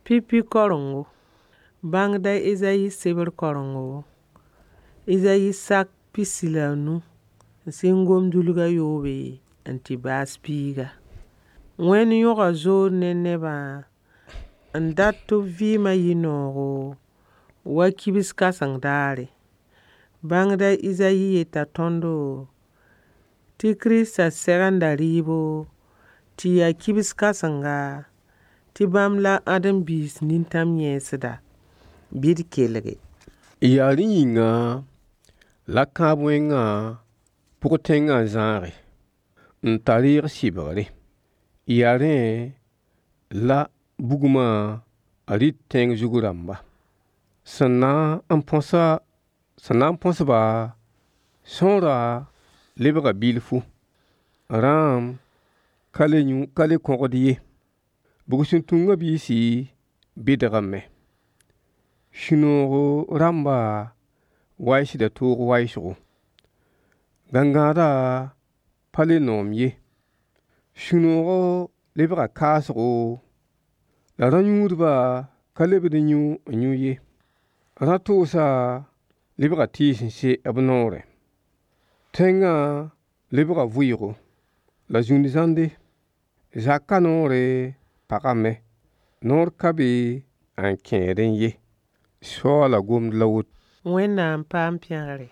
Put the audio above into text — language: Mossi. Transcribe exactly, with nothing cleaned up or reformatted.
Pipi karengo. Bãngda Ezayi sebr karengo, Ezayi sak pisi la a nu n sɩng gom-dulg a yoobe n tɩ baas piiga. Wẽnd yõga zood ne nebã n dat tɩ b vɩɩmã yɩ noogo wa kibs kãseng daare. Bãngda Ezayi yeta tõndo tɩ Kiristã segenda rɩɩbo tɩ yaa kibs kãsenga tɩ bãmb la ãdem-biis nintãm yẽesda. Bɩ d kelge. Yaa rẽ yĩnga la kãab wẽngã pʋg-tẽngã n zãage, n ta reeg sɩbgre. Yaa rẽ la bugmã rɩt tẽng zug rãmba. Sẽn na n põsa sẽn na n põs-ba sõora lebga bilfu. Rãam ka le yũ ka le kõgd ye. Bug-sẽn-tũngã biisi bɩdgame. Sũ-noogo rãmba waisda toog waoosgo. Gãngãada pa le noom ye. Sũ-noogɔ lebga kaasgo la rã-yũudba ka lebd n yũ n yũ ye. Rã-toosa lebga tɩɩs n se b noorẽ. Tẽngã lebga vʋɩɩgo la zũn zãnde. Zakã noore pagame. Noor ka be n kẽedẽ ye. Soaala gomd la woto. Wẽnnaam paam pẽgre.